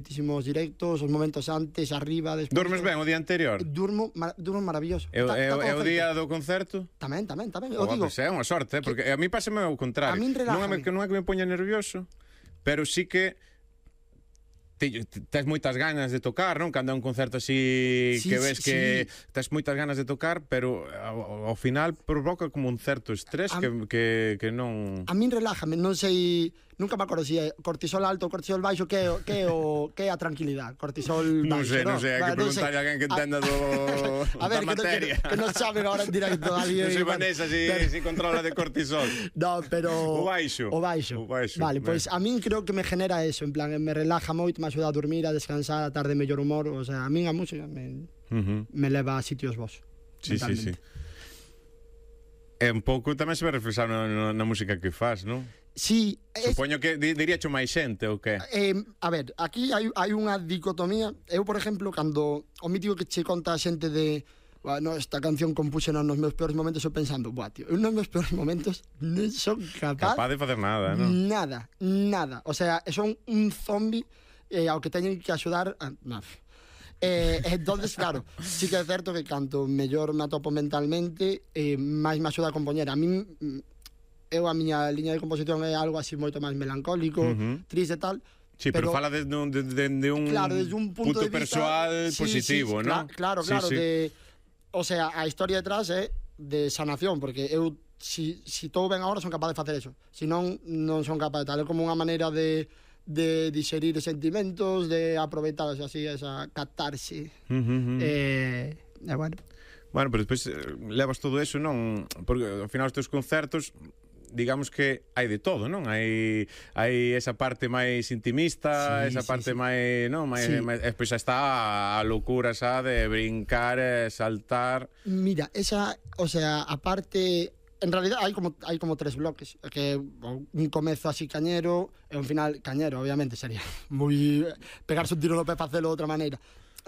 Muchísimos directos, os momentos antes, arriba, despois. Dormes ben o día anterior? Durmo maravilloso. É o día do concerto? Tamén. Eu digo, Pois é unha sorte, porque a mí pásame ao contrario. A min relájame. Non é que me poña nervioso, pero sí que tes moitas ganas de tocar, non? Cando é un concerto así que ves que tes moitas ganas de tocar, pero ao final provoca como un certo estrés que non... A min relájame, non sei, nunca me acordo se é cortisol alto ou cortisol baixo, que é a tranquilidade. Cortisol baixo, non sei, hai que preguntarle a alguén que entenda a ver, da materia. Que non saben agora en directo alguén. Non sei Vanessa si controla de cortisol. No, pero... O baixo. Vale, pois a min creo que me genera eso, en plan, me relaja moito, me axuda a dormir, a descansar, a estar de mellor humor, o sea, a min a música me leva a sitios vos. Sí. É un pouco tamén se ve reflexado na música que fas, non? Sí. Supoño que diríacho máis xente ou que? A ver, aquí hai unha dicotomía. Eu, por exemplo, cando o mítico que che conta a xente de bueno, esta canción compuxena nos meus peores momentos, eu pensando, buah, tío, eu nos meus peores momentos non son capaz de facer nada, non? Nada. O sea, son un zombi ao que teñen que axudar entonces, claro, sí que é certo que canto mellor me atopo mentalmente, máis me axuda a compoñer. A min, a miña liña de composición é algo así moito máis melancólico, triste e tal. Sí, pero fala desde un punto persoal positivo, non? Claro, o sea, a historia detrás é de sanación, porque eu si estou ben agora son capaz de facer eso, si non son capaz de tal, é como unha maneira de digerir sentimentos, de aproveitar así esa catarse. Bueno, pero despois levas todo eso, non? Porque ao final os teus concertos, digamos que hai de todo, non? Hai esa parte máis intimista, esa parte máis, non? Despois xa está a loucura xa de brincar, saltar. Mira, esa, o sea, a parte... En realidad hai como tres bloques, que un comezo así cañero e un final cañero, obviamente sería moi pegarse un tiro no pé e facelo de outra maneira.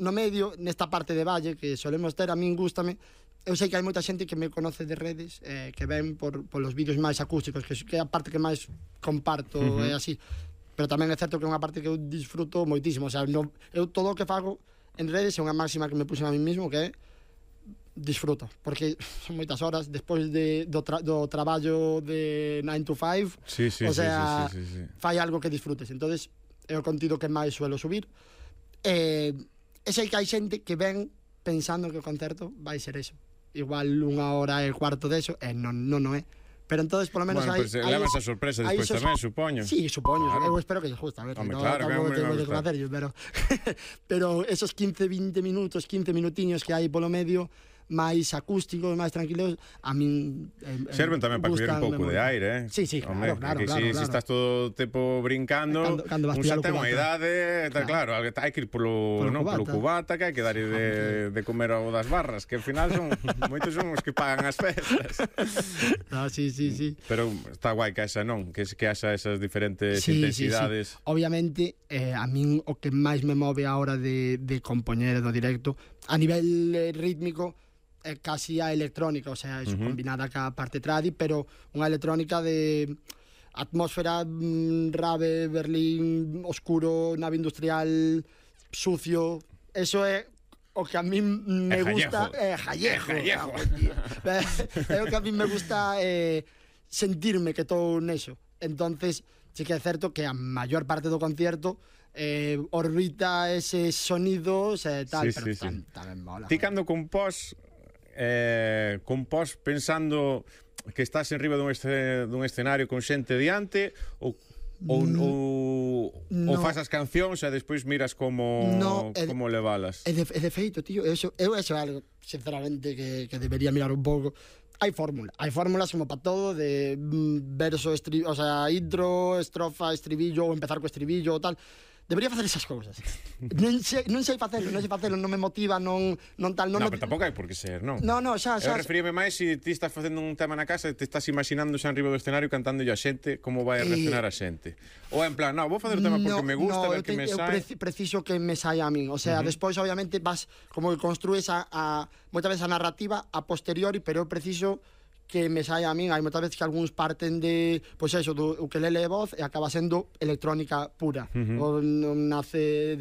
No medio, nesta parte de valle que solemos ter, a min gústame. Eu sei que hai moita xente que me conoce de redes, que ven por los vídeos máis acústicos, que é a parte que máis comparto, é así. Pero tamén é certo que é unha parte que eu disfruto moitísimo. O sea, eu todo o que fago en redes é unha máxima que me puxen a mí mismo, que é disfruto, porque son moitas horas despois do traballo de 9 to 5. O sea, fai algo que disfrutes. Entonces é o contido que máis suelo subir. E sei que hai xente que ven pensando que o concerto vai ser eso, igual 1 hora e cuarto deso, e non é. Pero entonces, polo menos, hai levas a sorpresa despois tamén, supoño. Sí, supoño, claro. Eu espero que lle guste, a ver, pero esos 15-20 minutos, 15 minutiños que hai polo medio, máis acústicos, máis tranquilos, a min serven tamén para coller un pouco de aire, Sí, claro. Se estás todo o tempo brincando, un xa ten unha idade, claro, hai que ir polo cubata, que hai que dar de comer ao das barras, que ao final moitos son os que pagan as festas. Sí. Pero está guai que haxa, non? Que haxa esas diferentes intensidades. Sí. Obviamente, a min o que máis me move a hora de compoñer do directo, a nivel rítmico, é casi a electrónica, o sea, eso combinada ca parte tradi, pero unha electrónica de atmósfera, rave, Berlín, oscuro, nave industrial, sucio. Eso é o que a mí me gusta. É jallejo. É o que a mí me gusta, sentirme que estou neso. Entonces, sí que é certo que a maior parte do concierto orbita ese sonidos e tal, pero tamén mola. Ti cando compós pensando que estás en riba dun escenario con xente diante ou faz as cancións e despois miras como levalas? De feito, tío, eso é algo, sinceramente, que debería mirar un pouco. Hai fórmulas como para todo, de verso, o sea, intro, estrofa, estribillo, ou empezar co estribillo ou tal. Debería facer esas cousas. Non sei facelo, non me motiva, non tal. No, pero tampouco hai por que ser, non? No, xa. Eu referíame máis se ti estás facendo un tema na casa e te estás imaginando xa en riba do escenario cantándolle a xente, como vai a reaccionar a xente. Ou en plan, vou facer o tema porque me gusta, ver que me sai. Eu preciso que me saia a min. O sea, despois, obviamente, vas como que construes moitas veces a narrativa a posteriori, pero eu preciso que me saia a min. Hai moitas veces que algúns parten de, pois eso, do ukelele e voz, e acaba sendo electrónica pura. Ou non nace de